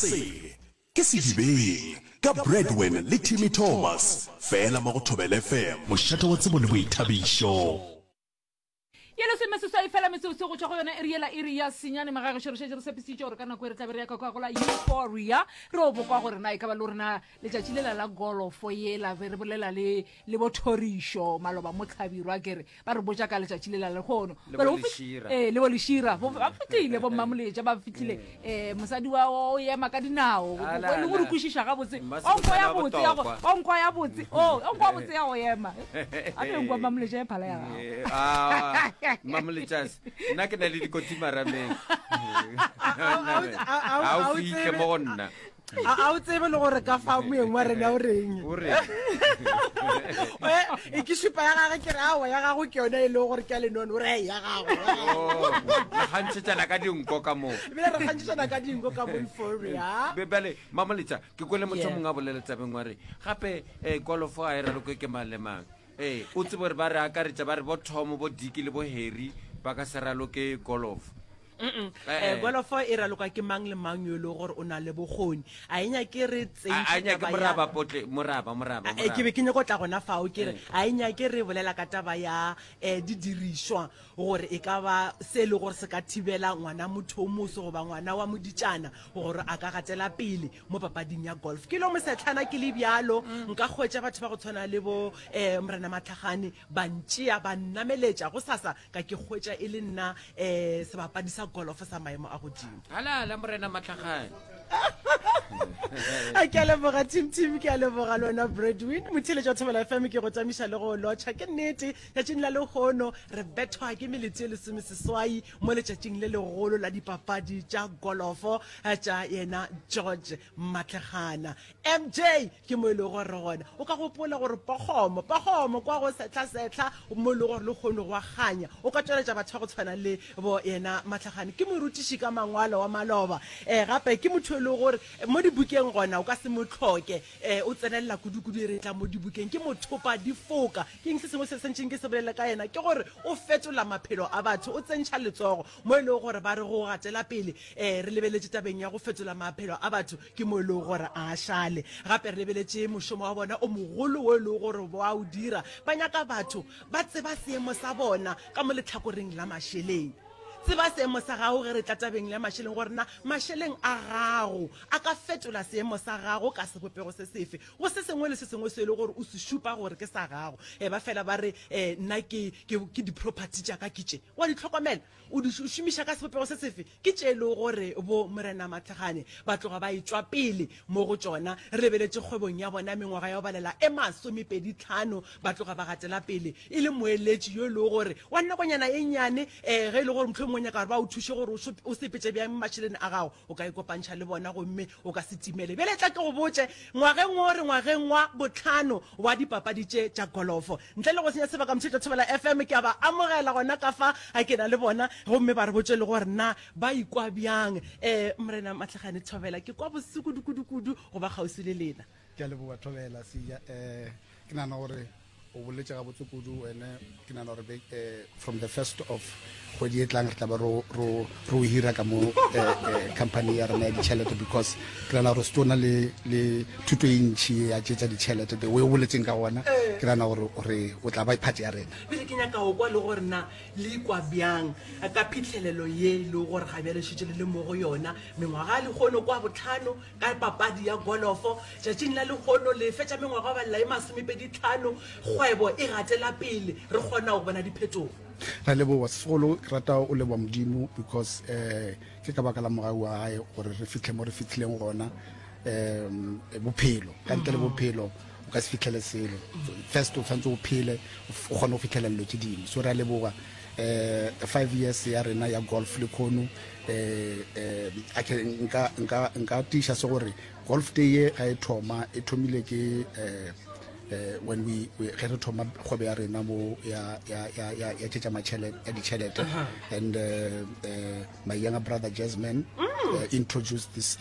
Se ke Sedibeng ka Bradwin le Timmy Thomas, fela mo go Thobela FM, mošate wa tsebo le boithabišo. Ye lesomeseswai fela metsotso go tšwa go yona iri yela iri ya senyane magagešo re šetše re tshepisitše gore ka nako e re tla be re ya ka kwa go la euphoria re o bokwa gore na e ka ba le rena letšatši lela la golofo yela be re bolela le le bothorišo maloba mo tlhabirwa ke re ba re botša ka letšatši lela lehono Le bo Lešira. ee le bo lešira Bo- ba fitlhile bo mmamoletša ba fitlhile um mosadi wa o ema ka dinao Ala, le go re ala. kwešiša gabotse Mmasebotsana o nkwa ya wa botse ya go botokwa. o nkwa ya botse o o nkwa botse ya go ema a be nkwa mmamoletša e phala ya gago Eh, ah, mmamoletšase nna ke na le dikotsi marameng a ga o fitlhe mo go nna a o tsebe le gore ka fa moeng wa rena o reng o reng eh, e ke šupa ya gage ke re aowa ya gago ke yone e leng gore ke ya lenono o re ya gago oh, re kgantšhetšana ka dinko ka moo ebile re kgantšhetšana ka dinko ka mo euphoria bjale mamoletša ke kwele motho mongwe a bolela tabeng wa re gape um kolofo a e ralokwe ke mang le mang ee o tsebe gore ba re akaretša ba re bo tom bo diki le bo harry ba ka se raloke golofo Eh, eh. golofo e raloka ke mang le mang yo e leng gore o na le bokgoni a e nyake re tsentšhe ke be ke nyako tla gona fao ke re a e nyake re bolela ka taba ya um didirišwa gore e ka ba se e le gore se ka thibela ngwana motho o moso goba ngwana wa moditšana gore a ka gatela pele mo papading ya golf ke lo mosetlhana ke le bjalo mm. nka kgwetša batho ba go tshwana le bo um morena matlhagane ba ntšea ba nnameletša go sasa ka ke hwetša e le nna um sebapadi sa golofo sa maemo a godimo. Halala Morena Matlhagane. A ke a leboga Tim Tim, ke a leboga le wena Bradwin. Motheeletši wa Thobela FM ke go tamiša le go lotšha. Ke nnete, tšatšing la lehono re bethwa ke melete e lesomeseswai mo letšatšing le legolo la dipapadi tša golofo tša yena George Matlhegana. MJ, Ke mo e lego gore re gona. O ka gopola gore pokgomo, pokgomo kwa go sehlasetlha mo e lego gore lehono go a kganya. O ka tšweletša batho ba go tshwana le bo yena Mahlagane. Ke morutiši ka mangwalo wa maloba. E, gape ke motho e lego gore mo dibukeng gona o ka se mo hloke. E, o tsenelela kudu-kudu e re tla mo dibukeng. Ke mothopa difoka. Ke eng se sengwe se sentšeng ke se bolele ka yena? Ke gore o fetola maphelo a batho, o tsentšha letsogo mo e lego gore ba re go gatela pele. E, re lebeletše tabeng ya go fetola maphelo a batho. Ke mo e lego gore a šale. Gape re lebeletše mošomo wa bona o mogolo wo e lego gore ba o dira. Ba nyaka batho ba tseba seemo sa bona ka mo lehlakoreng la mašeleng. Tseba seemo sa gago ge re tla tabeng ya mašeleng gore na mašeleng a gago a ka fetola seemo sa gago ka sebopego se sefe go se sengwe le se sengwe se e lego gore o se šupa gore ke sa gago. E ba fela ba re, Nna ke, ke, ke di-property tša ka ke tše. Wa di hlokomela? O di šomiša ka sebopego se sefe? Ke tše e lego gore bo Morena Matlhagane ba tloga ba etšwa pele mo go tšona. Re lebeletše kgwebong ya bona mengwaga ya go balela e masomepeditlhano ba tloga ba gatela pele e le moeletši yo e lego gore wa nakonyana e nnyane um ge e le gore mohlomongwe o nyaka gore ba o thuše gore o sepetše bjang mašeleng a gago o ka ikopantšha le bona gomme o ka se timele. Bjale tla ke go botše, ngwageng wo re ngwageng wa bohlano wa dipapadi tše tša golofo. Ntle le go senya sebaka, Motšhetšo Thobela FM ke a ba amogela gona ka fa, a ke na le bona gomme ba re botše le gore na ba ikwa bjang. Um Morena Mahlakgane Thobela, ke kwa bose kudu-kudu-kudu go ba kgauswi le lena. Ke a leboga Thobela Sia. Um ke nagana gore O boletše gabotse kudu wene. Ke nagana gore eh, from the first of kgwedi e tlang re tla ba ro ro ro hira ka mo eh, eh, company ya rena ya ditšhelete because ke nagana gore se na le le thuto e ntšhi ya tše tša ditšhelete the way o boletseng ka gona ke nagana gore gore o tla ba part ya rena. Pele ke nyaka go kwa le gore na le ikwa bjang ka phihlelelo ye e lego gore ga bjale šetše le le mo go yona mengwaga ya lehono kwa bohlano Ka papadi ya golofo, tšatšing la lehono le fetša mengwaga go balela e masomepeditlhano, kgwebo e gatela pele, re kgona go bona diphetogo. Ra leboga segolo, ke rata o leboga Modimo because um ke ka baka la mogau wa gae gore re fihle mo re fihlileng gona. Um bophelo, ka ntle le bophelo o ka se fihlele selo. First o tshwanetse o phele o kgone go fihlela dilo tše dingwe. So re a leboga um 5 years ya rena ya golf le khono eh eh a ke nka nka nka tiiša se gore golf day ye ga e thoma e thomile ke eh eh when we ge re thoma kgwebo ya rena mo ya ya ya ya ya tšetša matšhelete ya ditšhelete and uh, uh, my younger brother Jasmine mm. uh, introduced this.